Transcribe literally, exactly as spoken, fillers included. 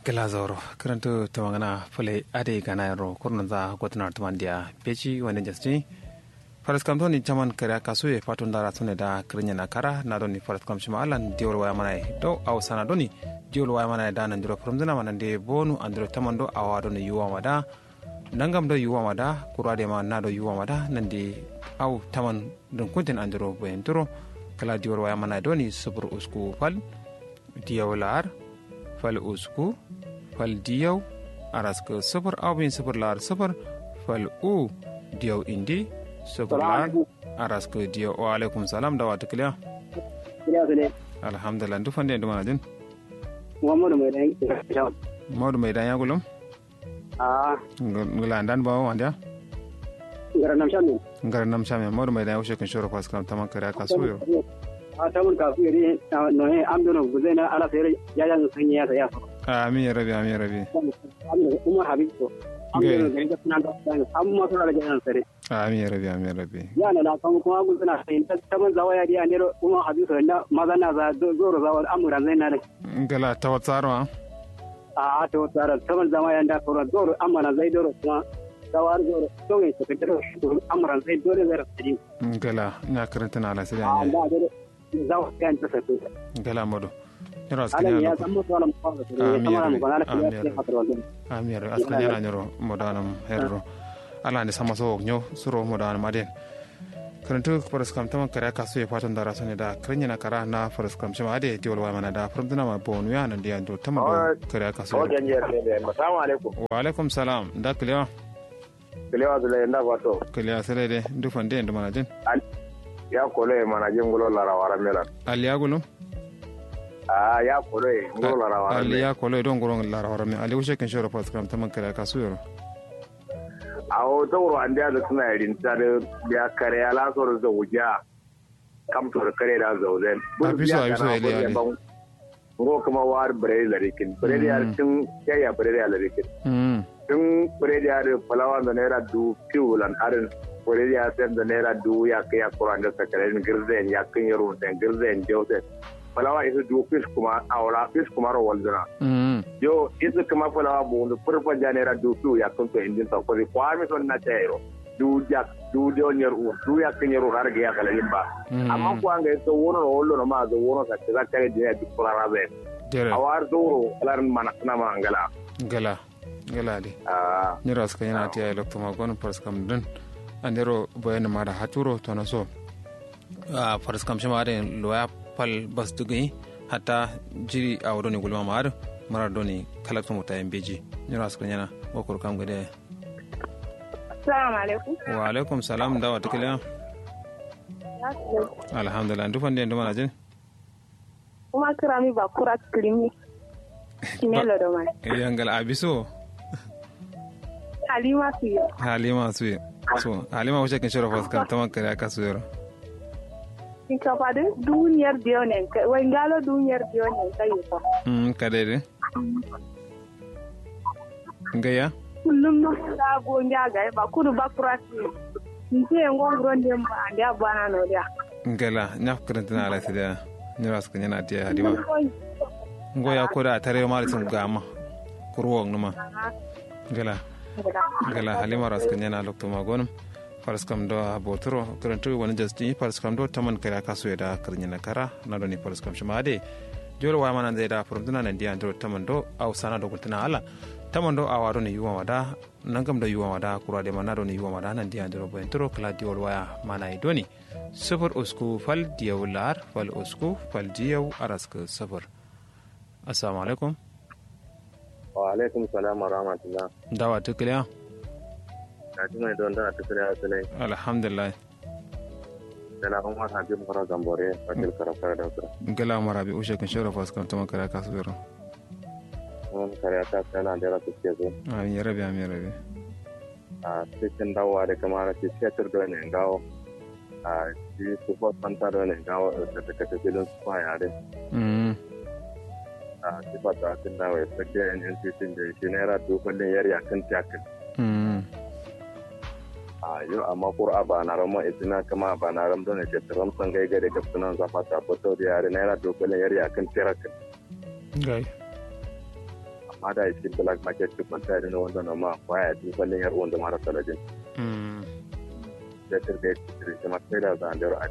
Gla zauro kǝrǝntǝ tǝmangǝna fǝlai adai gana yero kurnunza gotǝnar tǝmandiya. Beji wande jastin. Faraskam doni caman kariya kasuye fato ndara sune da kǝrǝnyena kara na doni faraskam shima allan diwol waya manaye do au sana doni diwol waya manaye da nandiro fǝrǝmzǝna ma nande bonu andiro taman do awa doni yuwa ma da. Nangam do yuwa ma da kuru adai ma na do yuwa ma da nande au taman dǝnkunten andiro boyenturo. Kǝla diwol waya manaye doni sufur usku fal diyau la'ar fal usku fal diyau araskǝ sufur au bin sufur la'ar sufur fal u diyau indi sufur la'ar araskǝ diyau. Wa alaikum salam dawa tǝkǝliya. Alhamdulillah ndu fande ndu manajin. Muhammadu mai dan ya gulum. Aa. Ngla ndan bawo wandiya. Ngara nam shamin. Ngara nam shamin modu mai dan ya wushe kǝn shoro faraskam taman kare aka suyo. A taman kasu yeri. Noye am dono guzena ala sere. Jajan sanyi ya saya. Amin ya rabi amin ya rabi. Umar habib ko. Am dono gari ga sunan da. Am ma sura da jajan sare. Amin ya rabi amin ya rabi. Ya na la kan kuma guzena sai taman zawaya di andero umar habib ko na mazana za zoro zawal amuran zai na dai. Ngla tawatsaro a. A'a to tsara saman zama yanda koro doro amma na zai doro kuma. Zawar doro to yin saka doro amma ran zai dole zai rasa din. Ngala nya karanta na ala sida ne. Amma dole. Zawa kan ta saka. Ngala modo. Nyiro askanya ya zama to alam ko. Amin ya rabi amin ya rabi. Askanya na nyiro modo anam herro. Ala ne sama so nyo suro modo anam aden. Kǝrǝntǝ faraskam taman kare aka suye fato ndara sone da kǝrǝnyena kara na faraskam shima ade diwol waya mana da fǝrǝmtǝna ma bonu ya nandi ya ndo taman do. Kare aka suye. Wa alaikum salam nda kǝlewa. Kǝlewa sǝle nda fato. Kǝlewa sǝle de ndu fande ndu manajin. Ya kolo ye manajin gulo larawa ramelan. Ali ya gulum. Aa ya kolo ye gulo larawa ramelan. Ali ya kolo ye don gulo larawa ramelan ali wushe kǝn shoro faraskam taman kare aka suye ro. Awo zauro andeya dǝ kǝna ye rinta dǝ. Biya kare ya la soro zaujiya. Kam soro kare da zauzen. Abiso abiso ele ya ne. Ngo kǝma wa dǝ bǝredi larikin bǝredi ya dǝ tǝn. Yayya bǝredi ya larikin. Tǝn bǝredi ya dǝ fǝlawa nza naira duwu fiwu lan adǝn. Bǝredi ya sen nza naira duwu yakkǝ yakkǝ ro ande sakare dǝn gǝrzayen yakkǝn yero sen gǝrzayen jausen. Falawa isu duwu fis kuma awala fis kuma ro walzǝna. Yo isu kuma falawa buwundu fur fanja naira duwu fiwu yakkǝn so indin so kozi kwami son na cairo. Duwu jak duwu dewo nyer uwur duwu yakkǝ nyer uwur har gǝya kalayin ba. Amma kuwa ngai so wono ro wallo no ma so wono sa kǝza kare duniya duk furara zayin. Awa har zauro kalarin mana suna ma angala. Ngala. Ngala de. Nyiro askǝ nyana tiya ye loktu ma gonǝm faraskam dǝn. Andero boyenǝm ada haturo tono so. Faraskam shima adǝ loya fal bas dǝgǝnyi. Hatta jiri awo doni gulma ma adǝ. Mara doni kalaktu muta ye mbeji. Nyiro askǝ nyana. Ngo kuru kam gǝde. Assalamu alaikum. Wa alaikum salam ndawa tǝkǝleya. Alhamdulillah ndu fande ndu manajin. Kuma kǝrami ba kura kǝrimi. Kimelo do mai. Yangala abiso. Halima suye. Halima suye. So halima wuce kǝn shoro faraskam taman kare aka suye ro. Shinkafa dǝ duwu nyer diyo ne wai ngalo duwu nyer diyo ne kai. Kadai dǝ. Ngaiya. Kullum no da go nja ga ba kudu ba kura si. Nje ngo nguro nde mba ande abana no dia. Ngala nya fukrantina ala sida. Nyiro askǝ nyana tiya halima. Ngo ya koda tare ma da sum gama. Kurwo numa. Ngala. Ngala halima ro askǝ nyana loktu ma gonǝm. Faraskam do aboturo kǝrǝntǝ wani jastin faraskam do taman kare aka suye da kǝrǝnyina kara. Na doni faraskam shima ade. Jolo waya mana nzai da fǝrǝmtǝna nandiya ndiro taman do au sana do gultǝna ala. Taman do awa doni yuwa ma da. Nangam do yuwa ma da kuru adai ma na doni yuwa ma da nandiya ndiro boyentǝro kǝla diwol waya mana ye doni. Sufur usku fal diyau la'ar fal usku fal diyau araskǝ sufur. Assalamu alaikum. Wa alaikum salam wa rahmatullah. Ndawa tǝkǝleya. Gaji mai don da tǝkǝleya sǝlai. Alhamdulillah. Dala umar habib ngoro gambore. Wakil karafkara da sura. Ngala umar habib ushe kǝn shoro faraskam taman kare aka suye ro. Umar kare aka suye na ndera suke so. Amin ya rabi amin ya rabi. A cikin dawowa da kamar shi fetur dole ne gawo. A shi su fos fanta dole ne gawo. Da ta kata filin su fa yare. A shi fata sun dawo ya sake yan yan titin da shi naira dubu kullum yar yakin tiyakin. A yau amma kura ba na ramon itina kama ba na ramon ne ke tiram sangai gare gabsunan zafa ta fito da yare naira dubu kullum yar yakin tiyakin. Gai. Amma da iskin black market duk kwalta ya dina wanda no ma kwaya duk kwallin yar wanda mara saladin. Fetur da ya ci shi ma sai da zandero a